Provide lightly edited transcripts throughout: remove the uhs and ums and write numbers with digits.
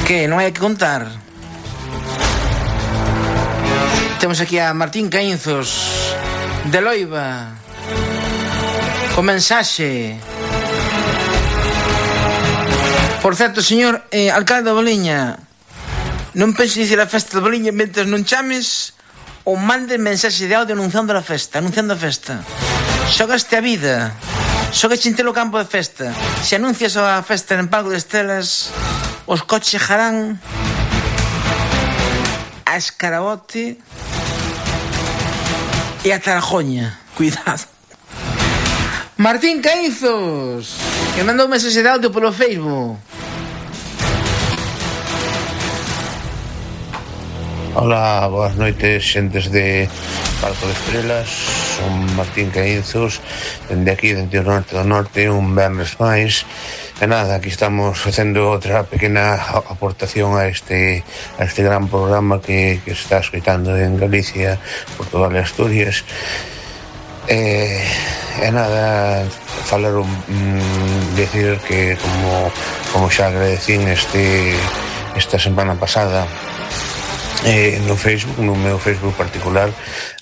Que non hai que contar. Temos aquí a Martín Caínzos de Loiba con mensaxe. Por certo, señor alcalde da Boliña, non pense dicir a festa da Boliña mentre non chames ou mande mensaxe de audio anunciando a festa. Xogaste a vida, xogaste en telo campo de festa. Se anuncias a festa en Pago de Estelas, os coches chegarán a Escarabote e a Tarajoña. Cuidado. Martín Caínzos, que mandou un mensaxe de audio polo Facebook. Hola, boas noites, xentes de Parco de Estrelas. Son Martín Caínzos, dende aquí, dende o norte do norte, un venres máis. E nada, aquí estamos facendo outra pequena aportación a este gran programa que se está escoitando en Galicia, Portugal e Asturias. E nada, falar decir que como xa agradecín esta semana pasada no Facebook, no meu Facebook particular,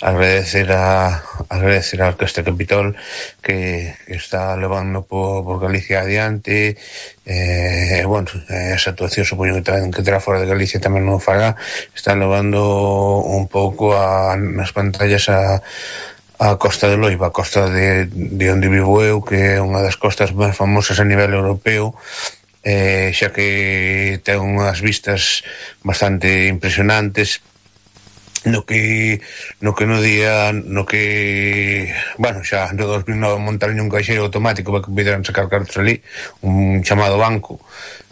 agradecer a Orquestra Capitol que está levando por Galicia adiante. Bueno, esa actuación supoño que terá fora de Galicia tamén non fará. Está levando un pouco nas pantallas a Costa de Loiba, a costa de onde vivo eu, que é unha das costas máis famosas a nivel europeo, xa que ten unhas vistas bastante impresionantes no que bueno, xa no 2009 montaron un caixeiro automático para que pudieran sacar cartos ali, un chamado banco,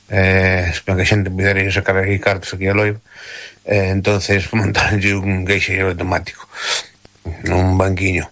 para que a xente pudera ir sacar aquí cartos aquí a Loiba. Entonces montaron un caixeiro automático, un banquiño.